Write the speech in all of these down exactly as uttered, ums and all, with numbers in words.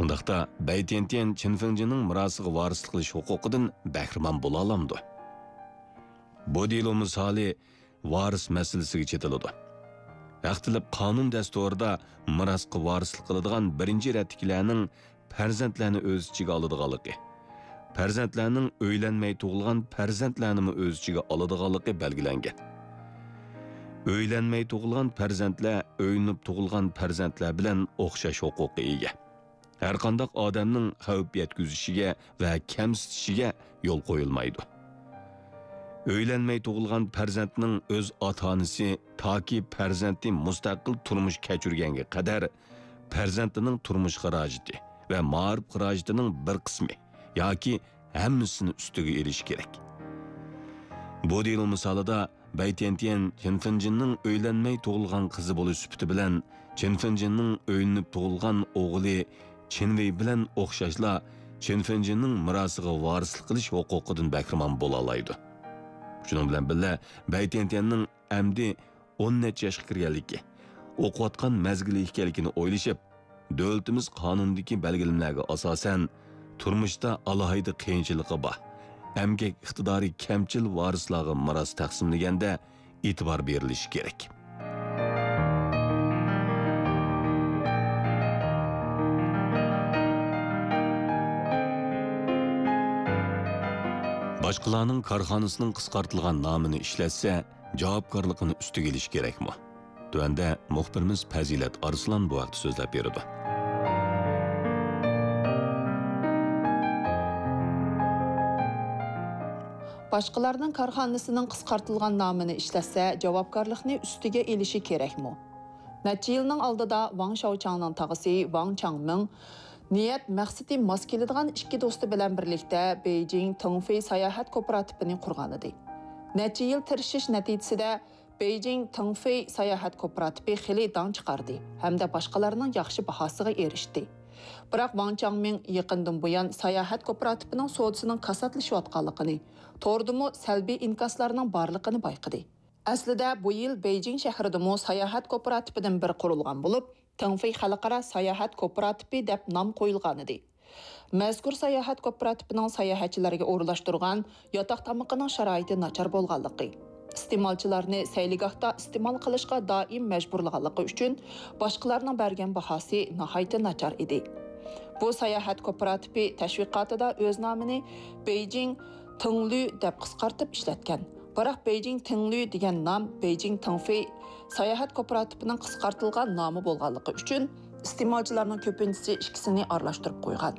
ئۇنداقتا بەي تيەنتيەن چىن فېڭجىننىڭ مىراسىغا ۋارىسلىق قىلىش ھوقۇقىدىن بەھرىمەن بولالامدۇ؟ بۇ دېلو مىسالى ۋارىس مەسىلىسىگە چېتىلىدۇ. ھەق تېلىپ قانۇن دەستۇرىدا مىراسقا ۋارىسلىق قىلىدىغان بىرىنچى رەتتىكىلەرنىڭ پەرزەنتلەرنى ئۆز ئىچىگە ئالىدىغانلىقى، پەرزەنتلەرنىڭ ئۆيلەنمەي تۇغۇلغان پەرزەنتلەرنىمۇ ئۆز ئىچىگە ئالىدىغانلىقى بەلگىلەنگەن. ئۆيلەنمەي تۇغۇلغان پەرزەنتلەر ئۆيلىنىپ تۇغۇلغان پەرزەنتلەر بىلەن ئوخشاش ھوقۇققا ئىگە. ھەرقانداق ئادەمنىڭ خەۋپ يەتكۈزۈشىگە ۋە كەمسىتىشىگە يول قويۇلمايدۇ. ئۆيلەنمەي تۇغۇلغان پەرزەنتنىڭ ئۆز ئاتا-ئانىسى تاكى پەرزەنتى مۇستەقىل تۇرمۇش كەچۈرگەنگە قەدەر پەرزەنتىنىڭ تۇرمۇش خىراجىتى ۋە مائارىپ خىراجىتىنىڭ بىر قىسمى ياكى ھەممىسىنى ئۈستىگە ئېلىشى كېرەك. بۇ دېلو مىسالىدا بەي تيەنتيەن چىن فېڭجىننىڭ ئۆيلەنمەي تۇغۇلغان قىزى بولۇش سۈپىتى بىلەن چىن فېڭجىننىڭ ئۆيلىنىپ تۇغۇلغان ئوغلى چىن ۋېي بىلەن ئوخشاشلا چىن فېڭجىننىڭ مىراسىغا ۋارىسلىق قىلىش ھوقۇقىدىن بەھرىمەن بولالايدۇ. شۇنىڭ بىلەن بىللە، بەي تيەنتيەننىڭ ئەمدى ئون نەچچە ياشقا كىرگەنلىكى، ئوقۇۋاتقان مەزگىلى ئىكەنلىكىنى ئويلىشىپ، دۆلىتىمىز قانۇنىدىكى بەلگىلىمىلەرگە ئاساسەن، تۇرمۇشتا ئالاھىدە قىيىنچىلىقى بار، ئەمگەك ئىقتىدارى كەمچىل ۋارىسلارغا مىراس تەقسىملىگەندە ئېتىبار بېرىلىشى كېرەك. باشقىلارنىڭ كارخانىسىنىڭ قىسقارتىلغان نامىنى ئىشلەتسە، جاۋابكارلىقىنى ئۈستىگە ئېلىشى كېرەكمۇ؟ تۆۋەندە مۇخبىرىمىز پەزىلەت ئارسلان بۇ ھەقتە سۆزلەپ بېرىدۇ. باشقىلارنىڭ كارخانىسىنىڭ قىسقارتىلغان نامىنى ئىشلەتسە، جاۋابكارلىقنى ئۈستىگە ئېلىشى كېرەكمۇ؟ نەچچە يىلنىڭ ئالدىدا ۋاڭ شاۋچاڭنىڭ تاغىسى ۋاڭ چاڭمىڭ نىيەت مەقسىتى ماس كېلىدىغان ئىككى دوستى بىلەن بىرلىكتە بېيجىڭ تېڭفېي ساياھەت كوپىراتىپىنى قۇرغانىدى. نەچچە يىل تىرىشىش نەتىجىسىدە بېيجىڭ تېڭفېي ساياھەت كوپىراتىپى خېلى داڭ چىقاردى ھەمدە باشقىلارنىڭ ياخشى باھاسىغا ئېرىشتى. بىراق ۋاڭ چاڭمىڭ يېقىندىن بۇيان ساياھەت كوپىراتىپىنىڭ سودىسىنىڭ كاساتلىشىۋاتقانلىقىنى، توردىمۇ سەلبىي ئىنكاسلارنىڭ بارلىقىنى بايقىدى. ئەسلىدە بۇ يىل بېيجىڭ شەھىرىدىمۇ ساياھەت كوپىراتىپىدىن بىر قۇرۇلغان بولۇپ، تېڭفېي خەلقئارا ساياھەت كوپىراتىپى دەپ نام قويۇلغانىدى. مەزكۇر ساياھەت كوپىراتىپىنىڭ ساياھەتچىلەرگە ئورۇنلاشتۇرغان ياتاق تامىقىنىڭ شارائىتى ناچار بولغانلىقى، ئىستېمالچىلارنى سەيلىگاھتا ئىستېمال قىلىشقا دائىم مەجبۇرلىغانلىقى ئۈچۈن باشقىلارنىڭ بەرگەن باھاسى ناھايىتى ناچار ئىدى. بۇ ساياھەت كوپىراتىپى تەشۋىقاتىدا ئۆز نامىنى بېيجىڭ تېڭلۈ دەپ قىسقارتىپ ئىشلەتكەن. بىراق بېيجىڭ تېڭلۈ دېگەن نام بېيجىڭ تېڭفېي ساياھەت كوپىراتىپىنىڭ قىسقارتىلغان نامى بولغانلىقى ئۈچۈن، ئىستېمالچىلارنىڭ كۆپىنچىسى ئىككىسىنى ئارىلاشتۇرۇپ قويغان.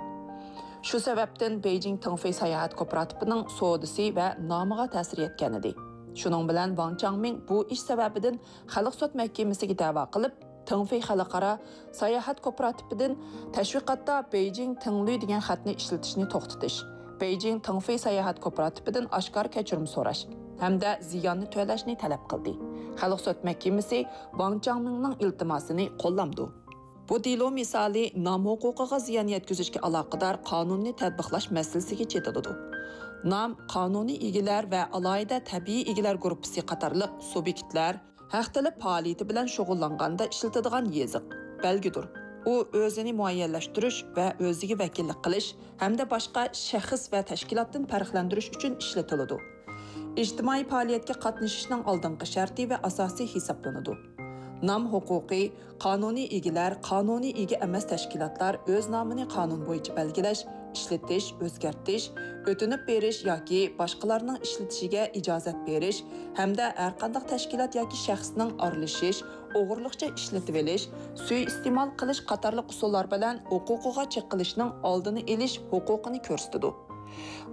شۇ سەۋەبتىن بېيجىڭ تېڭفېي ساياھەت كوپىراتىپىنىڭ سودىسى ۋە نامىغا تەسىر يەتكەنىدى. شۇنىڭ بىلەن ۋاڭ چاڭمىڭ بۇ ئىش سەۋەبىدىن خەلق سوت مەھكىمىسىگە دەۋا قىلىپ، تېڭفېي خەلقئارا ساياھەت كوپىراتىپىدىن تەشۋىقاتتا بېيجىڭ تېڭلۈ دېگەن خەتنى ئىشلىتىشنى توختىتىش، بېيجىڭ تېڭفېي ساياھەت كوپىراتىپىدىن ئاشكارا كەچۈرۈم سوراش ھەمدە زىياننى تۆلەشنى تەلەپ قىلدى. خەلق سوت مەھكىمىسى ۋاڭ چاڭمىڭنىڭ ئىلتىماسىنى قوللامدۇ. بۇ دېلو مىسالى نام ھوقۇقىغا زىيان يەتكۈزۈشكە ئالاقىدار قانۇننى تەتبىقلاش مەسىلىسىگە چېتىلىدۇ. نام قانۇنىي ئىگىلەر ۋە ئالاھىدە تەبىئىي ئىگىلەر گۇرۇپپىسى قاتارلىق سۇبيېكتلار ھەق تەلەپ پائالىيىتى بىلەن شۇغۇللانغاندا ئىشلىتىدىغان يېزىق، بەلگىدۇر. ئۇ ئۆزىنى مۇئەييەنلەشتۈرۈش ۋە ئۆزىگە ۋەكىللىك قىلىش ھەمدە باشقا شەخس ۋە تەشكىلاتتىن پەرقلەندۈرۈش ئۈچۈن ئىشلىتىلىدۇ. ئىجتىمائىي پائالىيەتكە قاتنىشىشنىڭ ئالدىنقى شەرتى ۋە ئاساسى ھېسابلىنىدۇ. نام ھوقۇقى، قانۇنىي ئىگىلەر، قانۇنىي ئىگە ئەمەس تەشكىلاتلار ئۆز نامىنى قانۇن بويىچە بەلگىلەش، ئىشلىتىش، ئۆزگەرتىش، ئۆتۈنۈپ بېرىش ياكى باشقىلارنىڭ ئىشلىتىشىگە ئىجازەت بېرىش ھەمدە ھەرقانداق تەشكىلات ياكى شەخسنىڭ ئارىلىشىش، ئوغرىلىقچە ئىشلىتىۋېلىش، سۇيىئىستېمال قىلىش قاتارلىق ئۇسۇللار بىلەن ھوقۇقىغا چېقىلىشنىڭ ئالدىنى ئېلىش ھوقۇقىنى كۆرسىتىدۇ.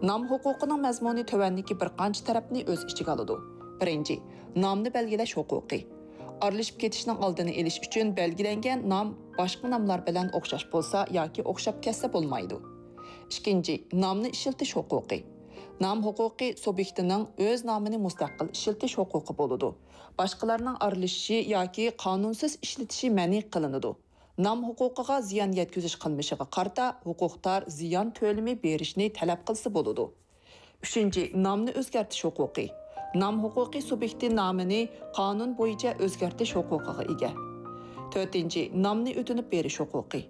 نام ھوقۇقىنىڭ مەزمۇنى تۆۋەندىكى بىر قانچە تەرەپنى ئۆز ئىچىگە ئالىدۇ. بىرىنچى، نامنى بەلگىلەش ھوقۇقى. ئارىلىشىپ كېتىشنىڭ ئالدىنى ئېلىش ئۈچۈن بەلگىلەنگەن نام باشقا ناملار بىلەن ئوخشاش بولسا ياكى ئوخشاپ كەتسە بولمايدۇ. ئىككىنچى، نامنى ئىشلىتىش ھوقۇقى. نام ھوقۇقى سۇبيېكتىنىڭ ئۆز نامىنى مۇستەقىل ئىشلىتىش ھوقۇقى بولىدۇ. باشقىلارنىڭ ئارىلىشىشى ياكى قانۇنسىز ئىشلىتىشى مەنئى قىلىنىدۇ. نام ھوقۇقىغا زىيان يەتكۈزۈش قىلمىشىغا قارىتا ھوقۇقدار زىيان تۆلىمى بېرىشنى تەلەپ قىلسا بولىدۇ. ئۈچىنچى، نامنى ئۆزگەرتىش ھوقۇقى. نام ھوقۇقى سۇبيېكتى نامىنى قانۇن بويىچە ئۆزگەرتىش ھوقۇقىغا ئىگە. تۆتىنچى، نامنى ئۆتۈنۈپ بېرىش ھوقۇقى.